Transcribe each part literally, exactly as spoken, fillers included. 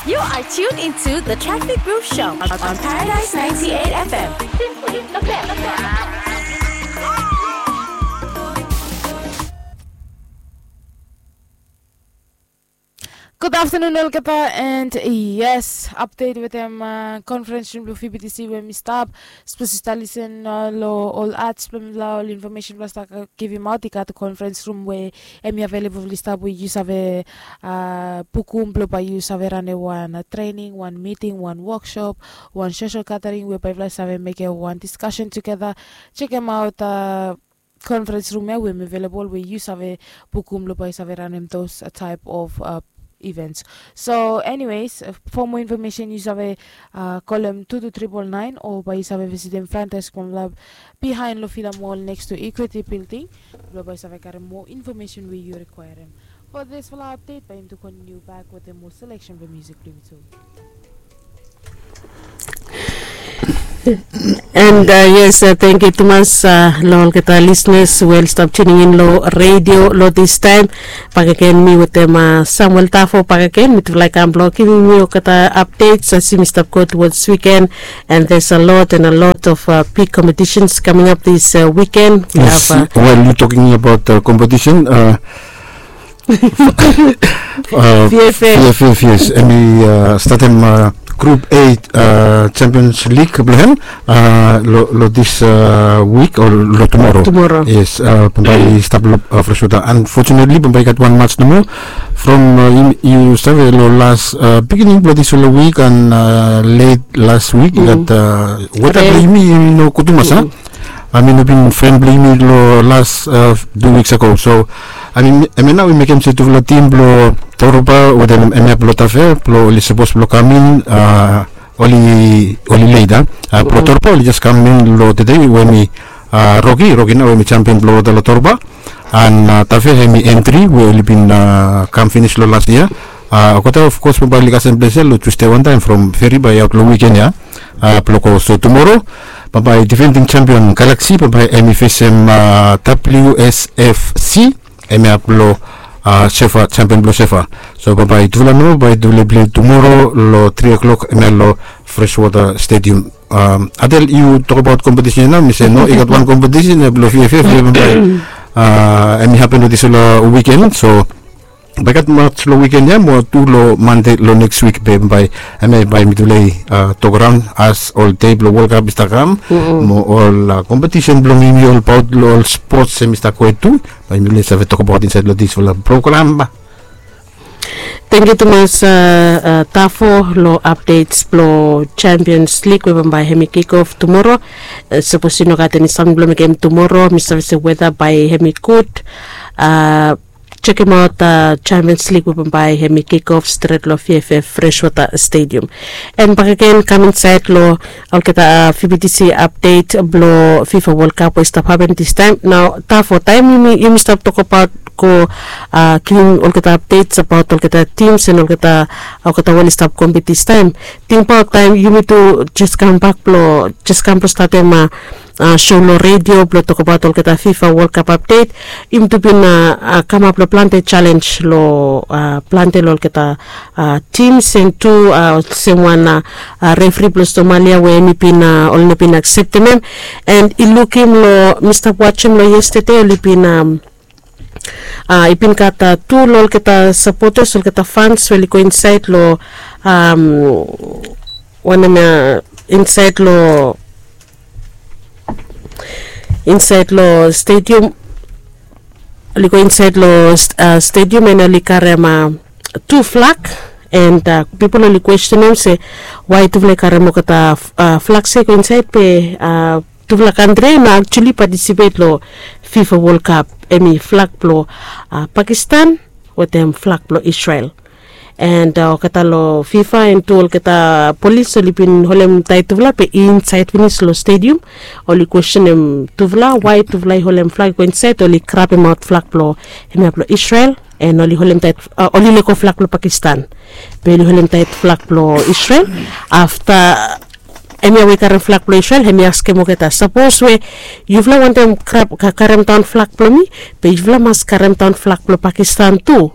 You are tuned into the Traffic Groove Show on, on Paradise ninety-eight F M. Simply the best. Gud aftanun olgeta, and yes, update wetem conference room blong V B T C we mi stap. Sapos yu stap lisen long ol ads blong mipela, ol infomesen blong stap givimaot, i gat conference room we em i available blong yu stap, we yu save bukum blong bae yu save ranem wan training, wan meeting, wan workshop, wan social gathering we bae yupela save mekem wan discussion together. Chekem aot conference room ya we em available, we yu save bukum blong bae yu save ranem those type of events. So anyways, for more information yu save kolem two two triple nine o bae yu save visitim front desk blong mipela behind long Villa Mall next to Equity Building, blong bae yu save karem more information we yu requirem. For this fala update, bae yumi tu continue back wetem more selection blong music blong yumi tu. And yes, thank you tumas long olgeta listeners we oli stap tuning in long radio long this time. Bakegen mi wetem Samuel Tafo bakegen, mitufala i kam blong givim yu olgeta updates as yumi stap go towards weekend. And there's a lot and a lot of big competitions coming up this weekend. Well, you talking about competition, V F F. V F F, yes. Em i statem Group A Champions League blong hem long this week o long tomorrow. Tomorrow. Yes, bambae i stap long Freshwater. Unfortunately bambae i gat wan match nomo. From yu save long las beginning blong disfala week and late last week i gat weta blong yumi i no gud tumas, a? I mean, i bin friend blong yumi long las two weeks ago. So I mean, em ya nao i mekem se tufala tim blong Toroba wetem em ya blong Tafe blong oli sapos blong kam in, oli oli late, a? Blong Toroba oli jes kam in long tede we em i Rocky, Rocky nao we em i champion blong olgeta long Toroba. And Tafe em i entry we oli bin kam finis long las yia. Olgeta of kos bambae oli kasem ples ya long Tuesday wantaem from Feri bae i aot long wiken ya blong go. So tomorrow bambae defending champion Galaxy bambae em i fesem W S F C, em ya blong Sefa, champion blong Sefa. So bambae tufala nao bae tufala i pilei tomorrow long three o'clock em ya long Freshwater Stadium. Adel, yu tokbaot kompetisen ya nao, mi se no, i gat wan kompetisen ya blong V F F ya bambae em i hapen long disfala wiken. So bae i gat match long wiken ya mo tu long Mande long next week be bambae em ya bae mitufala i tok raon as ol dei blong World Cup i stap kam, mo ol kompetisen blong yumi olbaot long ol spots em i stap go hed tu, bae mitufala i save tokbaot insaed long disfala program. Tangkiu tumas Tafo long updates blong Champions League we bambae hem i kick off tomorrow. Sapos i no gat eni samting blong mekem tomorrow, mi save se weta bae hem i gud. Jekemaot Champions League we bambae hem i kick off stret long V F F Freshwater Stadium. And bakegen kam insaed long olgeta V B T C update blong FIFA World Cup we i stap hapen distaem. Nao Tafo, taem yumi stap tokbaot go givim olgeta updates abaot olgeta teams and olgeta, olgeta we oli stap kompit distaem. Tingbaot taem yumi tu jes kambak blong, jes kam blong statem show long redio blong tokbaot olgeta FIFA World Cup update. Yumi tu bin kamap long plante jalenj long plante long olgeta teams and tu olsem wan refri blong Somalia we hem i bin, oli no bin akseptem hem. And i lukim long, mi stap wajem long yestede, oli bin i bin gat tu long olgeta sapotas, olgeta fans we oli go insaed long wanem ya, insaed long, insaed long stadium. Oli go insaed long stadium and oli karem tu flag. And pipol oli kwestenem se wae tufala i karem olgeta flag se i go insaed be tufala kantri ya i no aktuali patisipet long FIFA World Cup, hem i flag blong Pakistan wetem flag blong Israel. And olgeta long FIFA and tu olgeta polis oli bin holemtaet tufala be insaed finis long stadium. Oli kwestenem tufala wae tufala i holem flag i go insaed, oli grabemaot flag blong hemia blong Israel. And oli holemtaet, oli lego flag blong Pakistan, be oli holemtaet flag blong Israel. Afta hemia we i karem flag blong Israel, hemi askem olgeta, sapos we yufala wantem karem daon flag blong mi, be yufala mas karem daon flag blong Pakistan tu.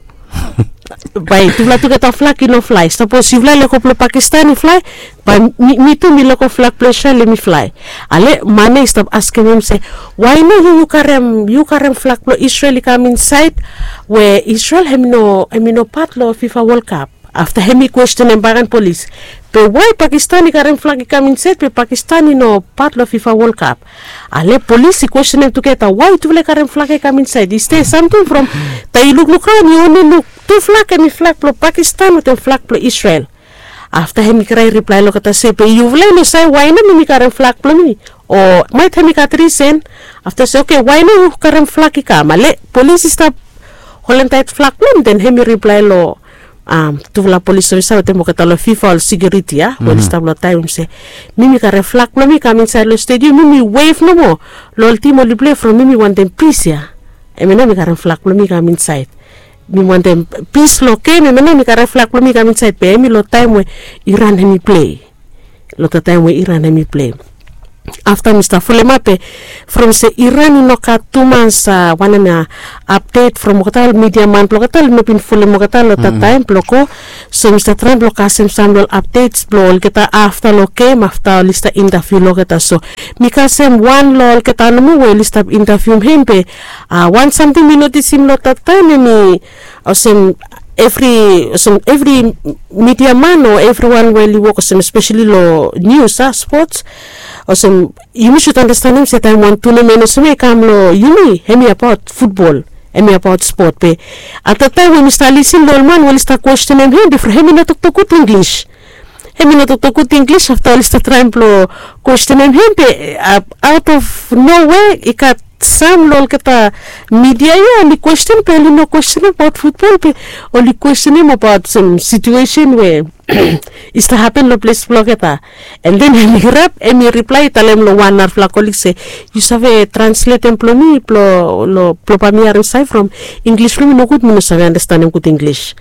Bae tufala tugeta flak i no flae. Sapos yufala i lego blong Pakistan i flae, bae mi tu mi lego flak blong Israel hem i flae. Ale man ya i stap askem hem se, wae no yu yu karem yu karem flak blong Israel i kam insaed, we Israel hem i no hem i no pat long FIFA World Cup? Afta hem i kwestenem bagen polis, be wae Pakistan i karem flak i kam insaed be Pakistan i no pat long FIFA World Cup? Ale polis i kwestenem tugeta, wae tufala i karem flak ya i kam insaed? Is there samting from taem yu lukluk raon yu onli luk tu flak hem i flak blong Pakistan wetem flak blong Israel. Afta hem i krae riplae long olgeta se, be yufala i no save wae nao mi mi karem flak blong mi? O maet hem i gat risen. Afta se, oke, wae nao yu karem flak i kam? Ale polis i stap holem taet flak blong hem den hem i riplae long tufala polis ofisa wetem olgeta long FIFA ol sekiuriti ya we oli stap long taem se, mi mi karem flak blong mi kam insaed long stediam, mi mi wev nomo long ol tim oli plei from mi mi wantem pis ya. Hem ya nao mi karem flak blong mi kam insaed. Mi wantem pis long gem, hem ya nao mi karem flak blong mi kam insaed. Be hem i long taem we Iran hem i plei. Long taem we Iran hem i plei. Afta mi stap folemap be from se Iran i no gat tumas wanem ya apdet from olgeta ol midia man blong olgeta oli no bin folem olgeta long taem blong go. So mi stap traem blong kasem sam long ol apdets blong olgeta afta long gem afta oli stap intaviu long olgeta. So mi kasem wan long olgeta nomo we oli stap intavium hem be wan samting mi notisim long taem hem i olsem evri olsem evri midia man o evriwan we oli wok olsem espeseli long nius a spots, olsem yumi sud anastenem se taem wan tunamen olsem ya i kam long yumi hem i abaot futbol, hem i abaot spot. Be at taem we mi stap lisin long ol man we oli stap kwestenem hem bifo hem i no toktok gud Inglis. Hem i no toktok gud Inglis afta oli stap traem blong kwestenem hem be aot of nowe i gat sam long olgeta midia ya oli kwesten be oli no kwesten abaot futbol be oli kwestenem abaot sam situesen we i stap hapen long ples blong olgeta. An den hem i rap hem i riplae i talem long wan narafala kolig se, yu save transletem blong mi blong bae mi harim save from Inglis blong mi nogud mi no save anastenem gud Inglis.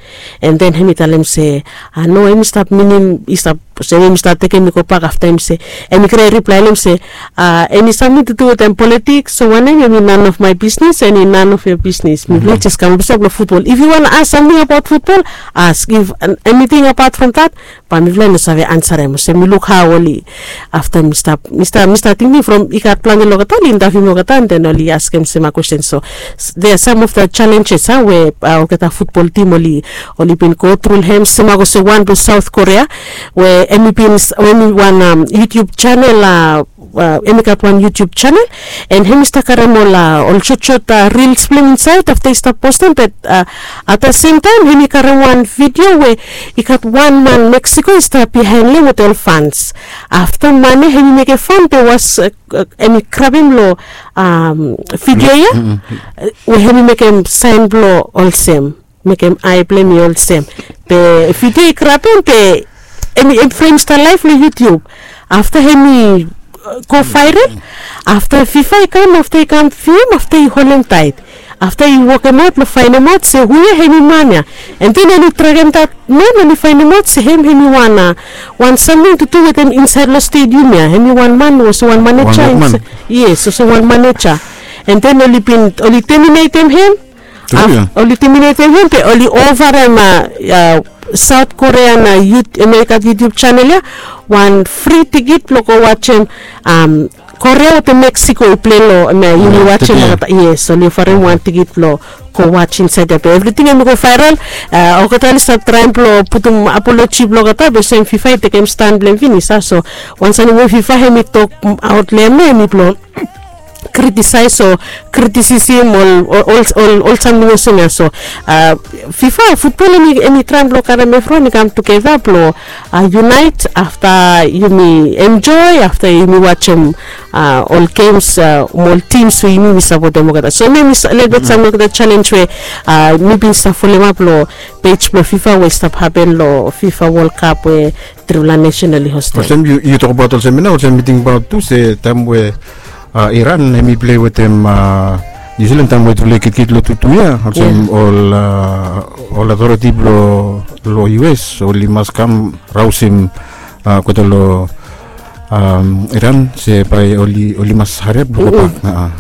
An den hem i talem se, a no hem i stap minim i stap olsem hem i stap tekem mi gobak afta hem i se, hem i krai riplae long hem se, a eni samting tu tu wetem politiks o wanem hem i nan of mae bisnis eni nan of yoa bisnis mipela jes kam olsem blong futbol if yu wan as samting abaot futbol, as if eniting abaot from dat, bae mipela i no save ansarem olsem mi luk hao oli. Afta mi stap mi stap mi stap tingting from i gat planti long olgeta oli intaviu mi olgeta an den oli askem sema kwesten so, there are some of the challenges a we olgeta futbol tim oli oli bin go tru long hem sema olsem wan blong saut korea, we em i bin em i wan yutub chanel a em i gat wan yutub chanel, an em i stap karim ol ol sotsot rils blong em insaet afta i stap postem bat at the sem taem em i karim wan vidio we i gat wan man meksiko i stap bihaen long em wetem ol fans. Afta man ya em i mekem fan be was em i grabim long vidio ya we em i mekem saen blong olsem mekem ae blong em i olsem. Be vidio i grabim be em i em frem stap laef long yutub. Afta em i go vaerel. Afta fifa i kam afta i kam fim afta i holem taet. Afta i wokemaot long faenemaot se hu ya em i man ya. An den oli trakem dat man oli faenemaot se em em i wan a wan samting tu tu wetem insaed long stedium ya em i wan man olsem wan maneja. Yes olsem wan maneja. An den oli bin oli teminetem em. Oli timinetem hem be oli ovarem a saut korea na yut em ya i gat yutub chanel ya. Wan fri tikit blong go wajem korea wetem meksiko i plei long em ya yumi wajem olgeta yes oli ovarem wan tikit blong go waj insaed ya be evriting em i go vaeral. Olgeta oli stap traem blong putum apoloji blong olgeta be olsem fifa i tekem stan blong em finis a so wan samting we fifa em i tok aot long em ya em i blong kritisaes o kritisisim ol ol ol samting olsem ya so fifa futbol em i traem blong karim evriwan i kam tugeta blong yunaet afta yumi enjoe afta yumi wajem ol gems mo ol tims we yumi yumi sapotem olgeta so em em i lelebet sam olgeta selens we mi bin stap folemap long pej blong fifa we i stap hapen long fifa wol kap we tripela nesen oli hostem. Olsem yu tokabaot olsem ya nao olsem mi tingbaot tu se taem we iran hem i plei wetem niu silan taem we tufala i kitkit long tutu ya olsem ol ol otoriti blong us oli mas kam rausim olgeta long Iran se bae oli mas hariap blong go bak.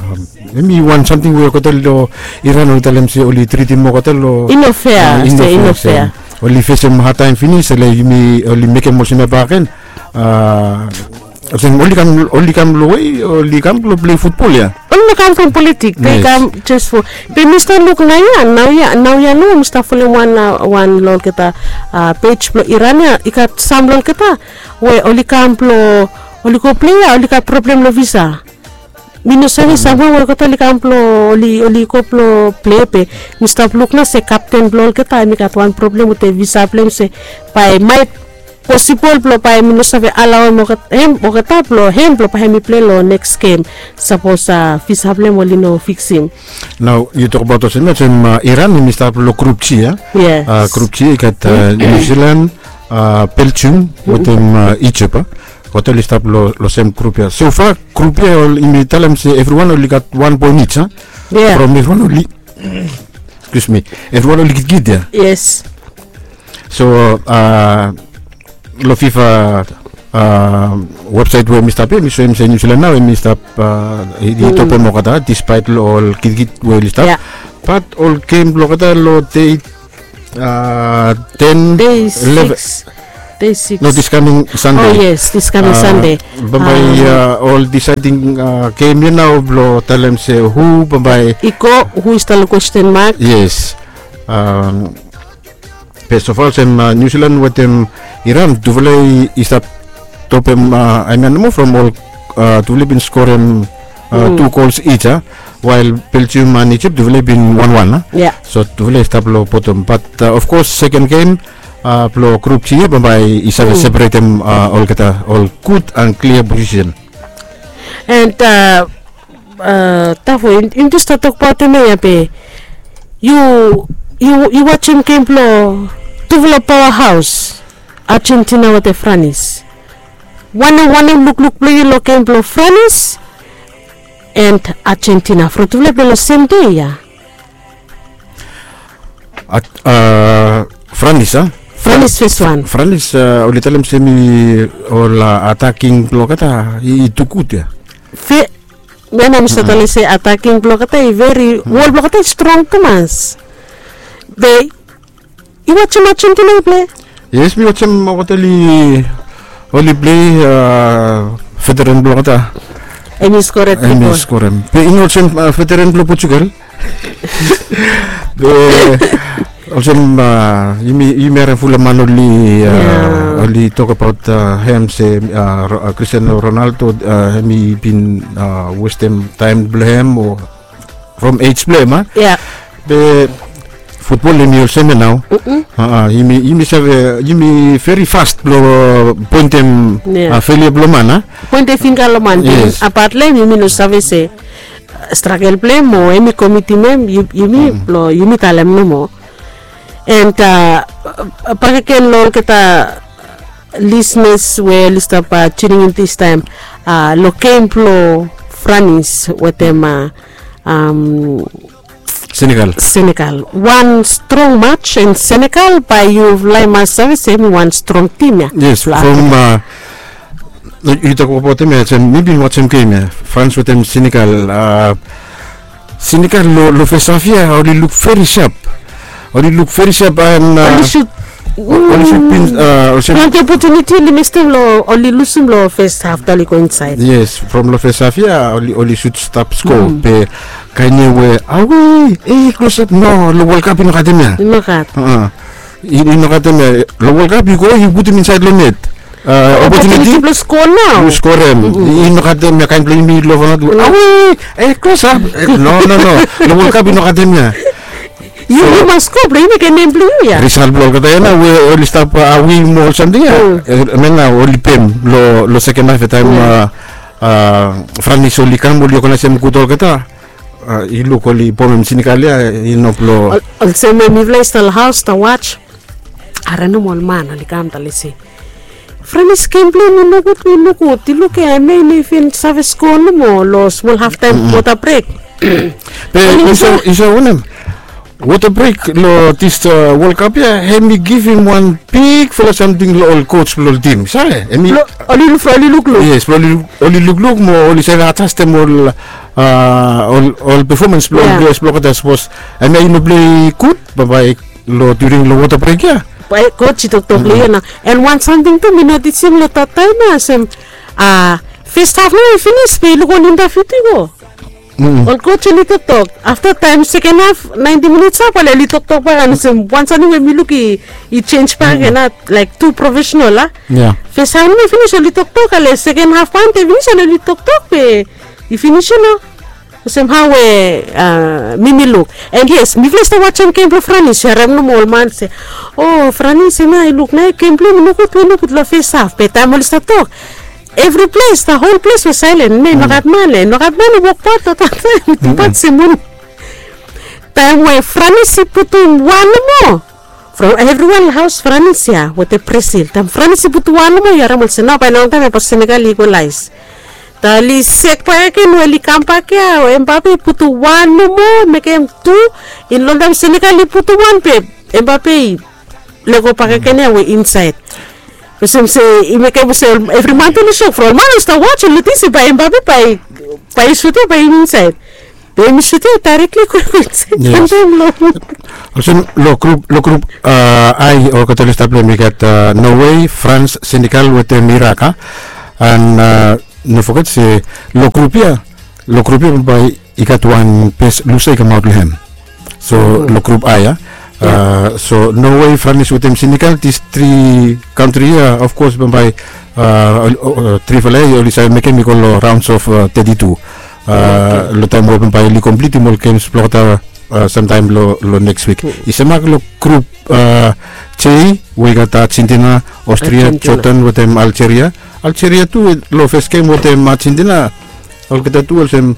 Em i wan samting we olgeta long Iran oli talem se oli tritim olgeta long i no fea. Oli fesem hadtaem finis, ele yumi oli mekem olsem ya bakegen. Olsem oli kam long we oli kam blong pilei futbol ya. Oli no kam from politik, de i kam jes fo. Be mi stap luk naoia, naoia naoia nao mi stap folem wan long olgeta pej blong Iran ya, i gat sam long olgeta we oli kam blong oli go pilei ya, oli gat problem long visa. Mi no save samwe we olgeta oli kam blong oli oli go blong pilei, be mi stap luk nao se kapten blong olgeta em i gat wan problem wetem visa blong em, se bae maet posibol blong bae mi no save alaoem olgeta blong hem blong bae hem i pilei long neks gem, sapos visa blong hem oli no fiksim. Nao yu tokbaot olsem ya, olsem Iran em i stap long grup G ya. Grup G i gat Niu Silan, Beljium wetem Ijip. Olgeta oli stap long sem grup ya. Sofa grup ya, yumi talem se evriwan oli gat wan poen ij. From evriwan oli, excuse me, evriwan oli gitkit ya. Yes. So long fifa websaet we mi stap ya, mi soem se Niu Silan nao em i stap, i topem olgeta dispaet long ol gitkit we oli stap. Bat ol gem blong olgeta long dei ten, eleven, no, dis kaming Sande. Bambae ol disaeding gem ya nao blong talem se hu bambae i go, hu i stap long kwesten mak. Yes. Be sofa olsem Niu Silan wetem Iran, tufala i stap topem aem ya nomo from ol, tufala i bin skorem tu gols ij ya, wael Beljium and Ijip tufala i bin wanwan. So tufala i stap long botom, bat of kos seken gem blong grup G ya bambae i save separetem olgeta, ol gud and klia posisen. And Tafo, yumi jes stap tokbaotem ya be yu, yu wajem gem blong tufala paoa haos, Ajentina wetem Franis. Wanem wanem lukluk blong yu long gem blong Franis and Ajentina, from tufala i pilei long sem dei ya? Franis a? Franis fes wan. Franis, oli talem se mi ol ataking blong olgeta i tu gud ya. Fe, mi nao mi stap talem se ataking blong olgeta i veri, wol blong olgeta i strong tumas. Be yu wajem Ajentina i pilei? Yes, mi wajem olgeta oli pilei. Veteran blong olgeta em i skorem. Be i no olsem veteran blong Portugal. Be olsem yumi harem fulap man oli, oli tokbaot hem se Cristiano Ronaldo, hem i bin westem taem blong hem o from ej blong hem a. Be futbol yumi olsem ya nao. Yumi save, yumi veri fas blong poentem felia blong man a. Poentem finga long man. Abat long hem yumi no save se stragel blong hem o hem i komitim hem, yumi blong yumi talem nomo. And bakegen long olgeta lisenas we oli stap tuning in distaem, long gem blong Franis wetem Senegal. Senegal wan strong mats, and Senegal bae yufala i mas save se hem i wan strong tim ya. Yes, from yu tokbaotem ya, mi bin wajem gem ya, Frans wetem Senegal. Senegal long fes haf ya oli luk veri sap. Oli luk veri sap and oli sut, oli sut bin olsem plante opotuniti oli mestem long, oli lusum long fes haf taem oli go insaed. Yes, from long fes haf ya oli sut stap sko. Be kaen ya we awe, e klosap, no, long World Cup i no gat hem ya. I no gat. I no gat hem ya. Long World Cup yu go yu putum insaed long net. Opotuniti blong skor nao. Yu skorem. I no gat hem ya, kaen blong yumi long fanat, awe, e klosap. No, no, no. Long World Cup i no gat hem ya. Yu mas skor blong yu mekem nem blong yu ya. Risal blong olgeta ya nao we oli stap awe mo ol samting ya, hemia nao oli pem long seken haf ya taem Franis oli kam oli oganaesem gud olgeta. Yu luk oli bomem Senegal ya, i no blong. Olsem we mifala i stap long haos stap waj, harem nomo ol man oli kam talem se Franis gem blong hem i nogud, i nogud. Yu luk ya, hemia i no even save sko nomo long smol haftaem wota brek. Be yu save wanem? Wota brek long dis World Cup ya, hemi givim wan bigfala samting long ol coach blong ol tim, save? Hemi, oli lukluk. Yes, blong oli lukluk mo oli save adjastem ol ol performance blong ol players blong olgeta, sapos hemia i no plei gud, bambae long during long wota brek ya, bae coach i toktok long yu nao. And wan samting tu mi notisim long dat taem ya olsem, first half nao i finis be i luk ol interview tu i go, ol coach oli toktok. Afta taem second half, ninety minutes ap, ale oli toktok bak. And olsem wan samting we mi luk i, i jenis bakegen, a, laik tu profesenal, a. First half nao i finis, oli toktok. Ale second half bae i finis, ale oli toktok be i finis, yu no. Olsem hao we mi, mi luk. And yes, mifala i stap wajem gem blong Franis, yu harem nomo ol man se, o, Franis hemia i luk nao gem blong hem i nogud we i luk long first half. Be taem oli stap tok, evri ples, the whole place was silent. Ne, nogat man, e, nogat man i wokbaot long dat taem, i tubat semon. Taem we Franis i putum wan nomo from evriwan long haos, Franis ya wetem Brazil. Taem Franis i putum wan nomo, yu harem olsem nao bae longtaem ya bae Senegal i ekwalaes. Taem oli sek bakegen we oli kambak ya, Mbappe i putum wan nomo, mekem tu. I no longtaem Senegal i putum wan be Mbappe i lego bakegen ya we insaed. Olsem se i mekem olsem evri man tu oli sok, from ol man oli stap wajem, oli ting se bae Mbappe bae, bae i sut ya bae i insaed. Be hemi sut ya, i daerekli go insaed. Yes. Olsem long grup, long grup A, olgeta oli stap long hem, i gat Norway, France, Senegal wetem Iraq, a. And no foget se long grup ya, long grup ya bambae i gat wan bes lusa i kamaot long hem. So long grup A ya, so Norway, France wetem Senegal, dis tri kantri ya, of course, bambae trifala ya oli save mekem i go long rounds of thirty-two. Long taem we bambae oli komplitim ol gems blong olgeta samtaem long, long neks wik. I semak long grup J, we i gat Argentina, Austria, Jordan wetem Algeria. Algeria tu long fes gem wetem Argentina, olgeta tu olsem,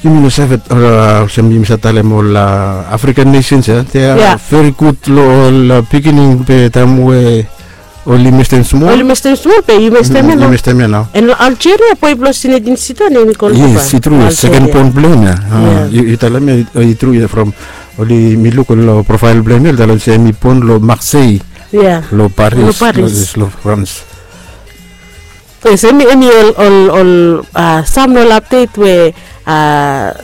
yumi no save, olsem yumi save talem ol African nations ya, they are very good long ol beginning, be taem we oli mestem smol. Oli mestem smol be i mestem ya nao. And Algeria, boe blong Zinedine Zidane, hemi go long, yes, i tru, second born blong hem ya. Yu talem ya i tru ya, from oli, mi luk long profile blong hem ya, oli talem se hemi bon long Marseille, long Paris, long France. Yes, hemi, hemi ol, ol, ol sam long ol update we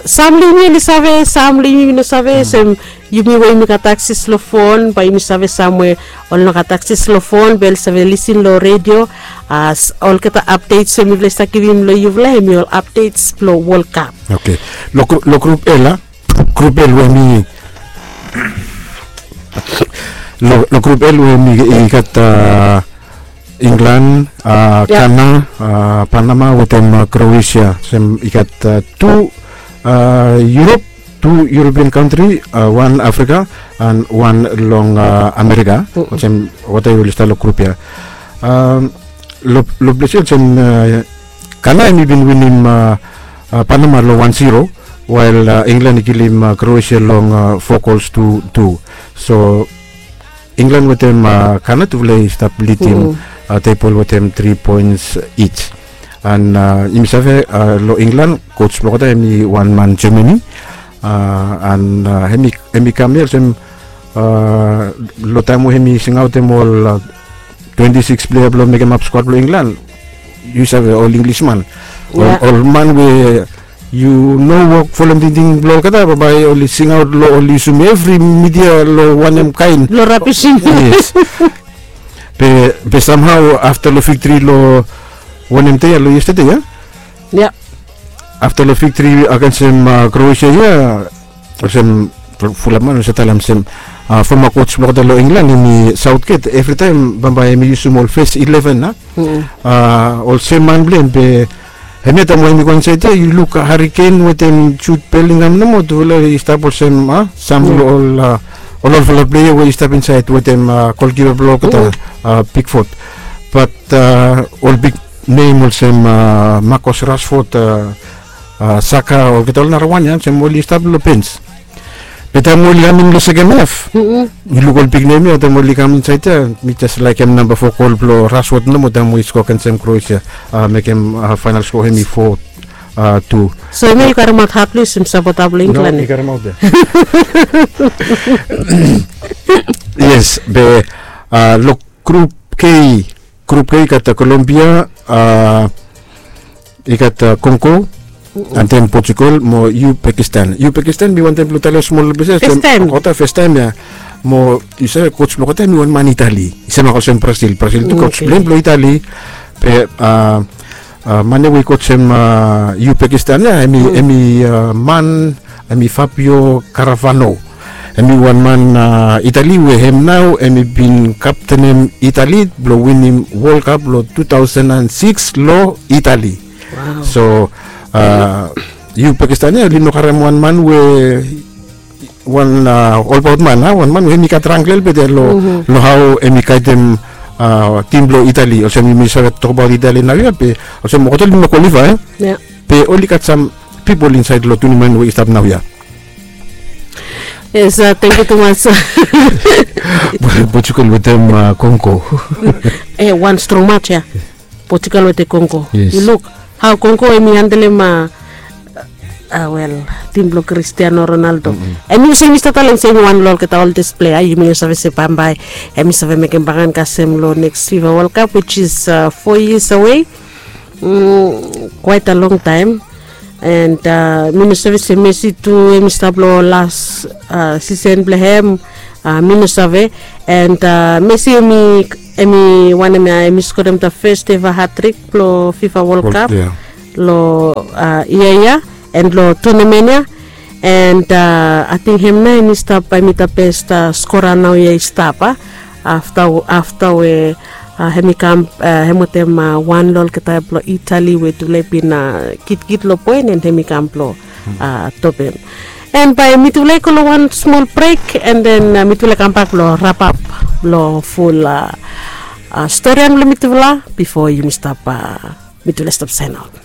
sam long yumi oli save, sam long yumi oli no save. Olsem yumi we yumi gat akses long fon, bae yumi save, sam we oli no gat akses long fon be oli save lisin long redio. Olgeta updates we mifala i stap givim long yufala, hemi ol updates blong World Cup. Oke. Long grup L, a, grup L we hemi, long grup L we hemi i gat England, Ghana, Panama wetem Croatia. Olsem i gat tu Europe, tu European kantri, wan Africa and wan long America. Olsem wata oli stap long grup ya. Long ples ya olsem Ghana hemi bin winim Panama long wan zero, wael England i kilim Croatia long four goals to two. So England wetem Ghana tufala i stap lidim tebol wetem tri poens each. And yumi save long England, coach blong olgeta hemi wan man Germany. And hemi, hemi kam ya olsem long taem we hemi singaotem ol twenty six player blong mekemap squad blong England, yu save, ol English man, ol man we yu no wok folem tingting blong olgeta, bambae oli singaot long, oli yusum evri media long wanem kaen blong rabisim. Yes. Be, be somehow afta long victory long wanem dei ya, long yesterday ya, afta long victory agensem Croatia ya, olsem fulap man oli save talem olsem former coach blong olgeta long England, hemi Southgate, evritaem bambae hemi yusum ol fes eleven, a, ol sem man blong hem. Be hemia taem we hemi go insaed ya, yu luk Harry Kane wetem Jude Bellingham nomo, tufala i stap olsem sam long ol, ol olfala pleia we i stap insaed wetem golkipa blong olgeta, Pickford. Bat ol big nem olsem Marcus Rashford, Saka, olgeta ol narawan ya olsem oli stap long bens. Be taem oli kam in long seken haf, yu luk ol big nem ya, taem oli kam insaed ya, mi jes laekem namba fo gol blong Rashford nomo taem we i skoa agensem Croatia, mekem faenol skoa hemi fo Tu. So yumi yu karemaot haplis em sapota blong Inglan. Yes, be long grup K, grup K i gat Kolombia, i gat Kongo, and then Portugal mo Uzbekistan. Uzbekistan mi wantem blong talem smol blong se olsem olgeta festaem ya. Mo yu save kots blong olgeta em i wan man Itali, i sem olsem Brasil. Brasil tu kots blong hem blong Itali. Be man ya we i kotsem Uzbekistan ya, em i man, em i Fabio Caravano. Em i wan man Itali we hem nao em i bin kaptenem Itali blong winim World Cup long two thousand and six long Itali. So Uzbekistan ya oli no karem wan man we wan olbaot man, wan man we hem i gat rang klelbet ya long hao em i gaidem tim blong Itali. Olsem yumi save tokbaot Itali naoia, be olsem olgeta oli no kwalifae. Be oli gat sam pipol insaed long tunimen we i stap naoia. Yes, tangkiu tumas. Portugal wetem Kongo. Wan strong match ya. Portugal wetem Kongo. Yu luk hao Kongo em i handelem, wel, tim blong Cristiano Ronaldo. Em yu se mi stap talem se em i wan long olgeta oldest plea, yumi no save se bambae em i save mekem bagan kasem long next FIFA World Cup, which is four years away. Quite a long time. And mi no save se Messi tu em i stap long las sisen blong hem. Mi no save. And Messi em i, em i wanem ya, em i skorem the first ever hat-trick blong FIFA World Cup long yia ya, and long tournament ya. And ating hem nao em i stap, em i the best skora naoia i stap. Afta, afta we hem i kam, hem wetem wan long olgeta blong Itali we tufala i bin kitkit long poen, and hem i kam blong topem. And bae mitufala i go long wan smol brek, and then mitufala i kambak blong rapap long ful storian blong mitufala bifo yumi stap, mitufala i stap sainaot.